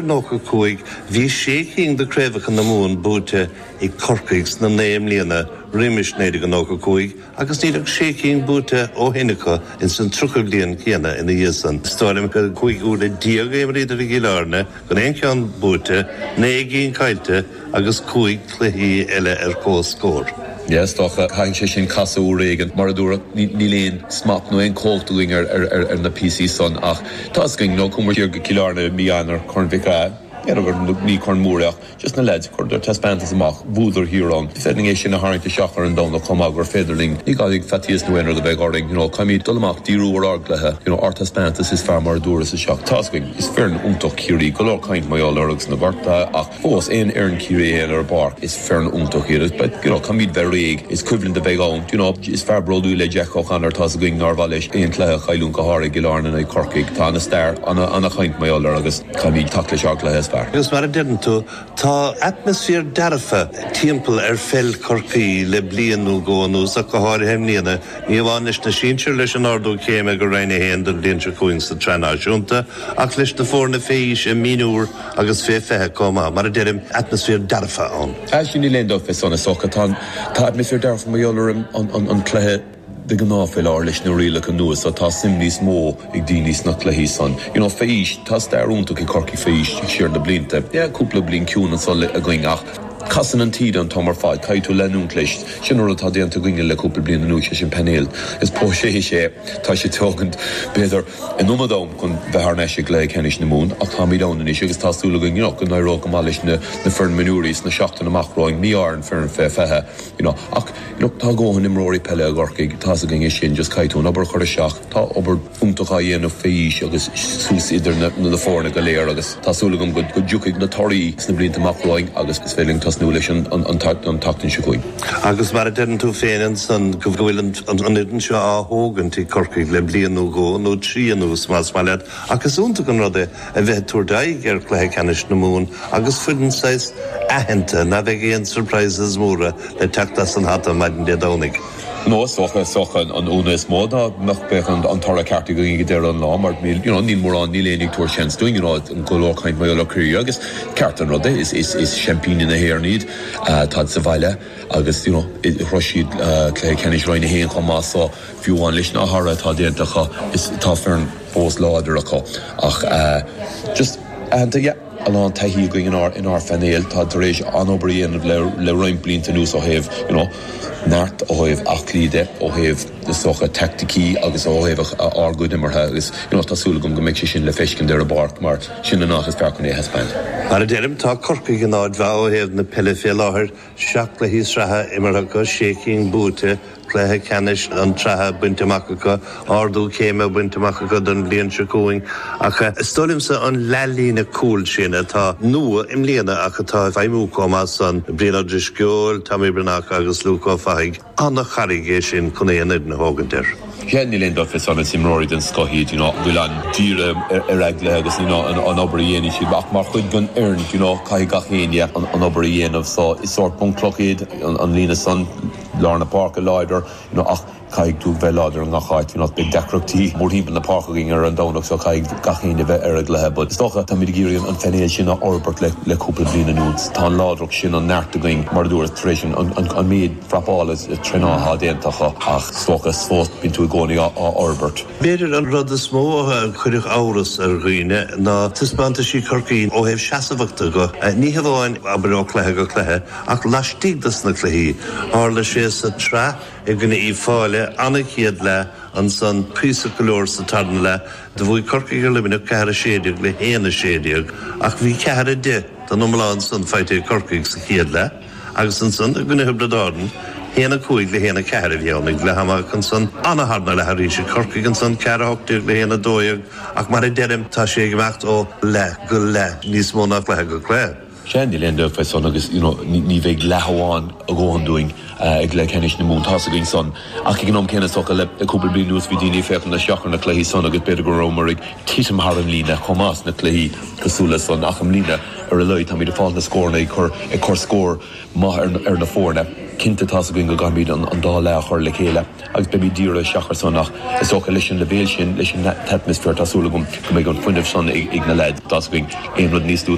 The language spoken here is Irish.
95, bhí sé cinn de craobhacha na Mumhan buaite ag Corcaigh sna 9 mbliana roimis 1995 agus níl ach sé cinn buaite ó shin acu ins an 30 bliain céanna ina dhiaidh san. Is dóigh liom gur 15 uaire a imríodar i gCill Airne gan aon cheann buaite, 9 gcinn caillte agus 5 cluichí eile ar comhscór. Yeah, is dócha, caithfidh sé sin casadh uair éigin. Mar a dúradh, níl aon smacht nó aon chumhacht againn ar na píosaí san ach tá 'fhios againn, nó chuamar siar go Cill Airne i mí Eanáir, Corn Mhic Aodha, b'fhéidir gur ní corn mór é ach just na leaids, chuireadar taispeántas amach, bhuadar thiar ann. Is féidir linn é sin a tharraingt isteach ar an Domhnach chomh maith gur féidir linn, ní gá faitíos nó aon rud a bheith orainn, you know, caithfimid dul amach, díriú ar ár gcluiche, you know, ár dtaispeántas is fearr mar a dúras isteach. Tá 'fhios againn, is foireann iontach Ciarraí, go leor caint mar gheall orthu agus na gortuithe ach, Fós, aon fhoireann Ciarraí a théann ar an bpáirc, is foireann iontach iad. But, you know, caithfimid bheith réidh. Is coimhlint a bheidh ann. You know, is fear bródúil é Jack O'Connor. Tá's againn nár mhaith leis aon chluiche a chailliúint go háirithe i gCill Airne in aghaidh Chorcaigh. Tá ana-stair, ana-chaint mar gheall air agus caithfimid teacht leis ár gcluiche is fearr. Agus mar a deireann tú, tá atmaisféar dearfa timpeall ar pheil Chorcaí le bliain nó dhó anuas ach go háirithe i mbliana. Ní amháin leis na sinsir leis an ardú céime go Roinn 1 don bhliain seo chugainn sa tsraith náisiúnta ach leis na foirne fé aois i mionúr agus fé 20 chomh maith. Mar a deirim, atmaisféar dearfa ann. Sea, níl aon dabht fé san, is dócha. Tá tá atmaisféar dearfa mar gheall ar an cluiche de ghnáth fé láthair leis na rialacha nua so tá suim níos mó ag daoine sna cluichí san. You know, fé aois, tá stair iontach ag Corcaigh fé aois siar na blianta. Yeah, cúpla bliain ciúin anso againn ach casann an taoide an t-am ar fad, caithfidh tú leanúint leis. Sin an rud atá déanta againne le cúpla bliain anuas, sé sin painéal. Is próiseas é, tá sé tógaint b'fhéidir an iomad am chun bheith thar n-ais i gcluiche ceannais na Mumhan ach táimid ann anois agus tá súil againn you know go n-éireoidh go maith leis na na foireann mionúirí sna seachtain amach romhainn, mí ar an foireann fé 20 you know ach you know tá a dhóthain imreoirí peile i gCorcaigh, tá's againn é sin, just caithfidh tú an obair a chur isteach, tá obair iontach á dhéanamh fé aois agus suas idir na na foirne go léir agus tá súil agam go go dtiocfaidh na torthaí sna blianta amach romhainn agus is féidir linn tosnú leis an an an tseachtain seo chugainn. Agus mar a deireann tú féin ansan go bhfuil an fhoireann seo á thógaint ag Corcaigh le bliain nó dhó nó trí anuas más maith leat ach is iontach an rud é a bheith ag tabhairt aghaidh ar chluiche ceannais na Mumhan agus foireann saghas aitheanta ná beidh aon surprises móra le teacht as an hata maidin Dé Domhnaigh. No, is dócha, is dócha an ionadh is mó dá mbeadh bheadh an toradh ceart againn ag deireadh an lá mar níl, you know, níl mórán, níl éinne ag tabhairt seans dúinn, you know, go leor caint mar gheall ar Chiarraí agus ceart an rud é, is, is, is seaimpíní na hÉireann iad, táid sa bhaile agus, you know, shroich siad cluiche ceannais Roinn 1 chomh maith so fiú amháin leis na hathruithe atá déanta acu, is tá foireann fós láidir acu ach just aitheanta, yeah. a lán taithí againn inár inár phainéal. Tá tar éis an-obair a dhéanamh le le roinnt blianta anuas ó thaobh you know neart, ó thaobh aclaí de, ó thaobh is dócha teaicticí agus ó thaobh ár gcuid imeartha agus you know tá súil agam go mbeidh sé sin le feiscint ar an bpáirc mar sin an áit is fearr chun é a thaispeáint. Mar a deirim, tá Corcaigh in áit mhaith ó thaobh na peile fé láthair. 7 gcluichí sraithe imeartha acu, 6 cinn buaite, cluiche ceannais an tsraithe bainte amach acu, ardú céime bainte amach acu don bhliain seo chugainn. Ach is dóigh liomsa an leathlíne cúil sin atá nua i mbliana ach atá ag feidhmiú chomh maith san, Brian Ó Drisceoil, Tommy Breathnach agus Luke Ó Fathaigh, An-charraig é sin chun aon fhoireann a thógaint air. Yeah, níl aon dabht fé san, is imreoirí den scoth iad, you know, bhfuil an-dírithe ar a gcluiche agus, you know, an obair a dhéanann siad. Ach mar chuid den fhoireann, you know, caithfidh gach éinne an obair a dhéanamh. So, is sórt bunchloch iad, an líne san, lár na páirce láidir, you know, ach caithfidh tú bheith láidir i ngach áit, you know, beidh deacrachtaí mórthimpeall na páirce againn ar an Domhnach so caithfidh gach éinne bheith ar a gcluiche. But is dócha, táimid ag iarraidh an phainéal sin a fhorbairt le cúpla bliain anuas. Tá an láidreacht sin, an neart againn, mar a dúras, tar éis an méid prapála is traenála atá déanta acu ach is dócha is fós bíonn tú i gcónaí á fhorbairt. B'fhéidir an rud is mó a chuirfeadh amhras ar dhaoine ná taispeántaisí Chorcaí ó thaobh seasmhachta de, ní hamháin, abair, ó chluiche go cluiche, ach laistigh dos na cluichí. Tharla sé sa tsraith i gcoinne Uíbh Fhailí, an-chéad leath, ansan cuíosach go leor sa tarna leath. Do bhuaigh Corcaigh ar Luimneach 4, 16 le 1, 16 ach bhí 4, 10 den iomlán san faighte ag Corcaigh sa chéad leath agus ansan i gcoinne Thiobraid Árann 1, 5 le 1, 4 a bhí ann ag leath ama ach ansan an-tharna leath arís ag Corcaigh ansan 4, 18 le 1, 12 ach mar a deirim tá sé ag imeacht ó leath go leath níos mó ná cluiche go cluiche. Sea, níl aon dabht fé san agus you know ní bheidh leath amháin a dhóthain dúinn i gcluiche ceannais na Mumhan, tá's againn san. Ach ag an am céanna is dócha le cúpla bliain anuas bhí daoine ag féachaint isteach ar na cluichí san agus b'fhéidir go rabhamar ag titim thar an líne chomh maith sna cluichí cosúil le san ach i mbliana ar a laghad táimid ag fáil na scóranna ag cur ag cur scór maith ar na foirne. Cinnte tá's againn go gcaithfimid an dá leath a chur le chéile agus beimid dírithe isteach ar san ach is dócha leis an leibhéal sin, leis an t-atmaisféar, tá súil agam go mbeidh an fuinneamh san ag na leaids. Tá's againn aon rud níos lú.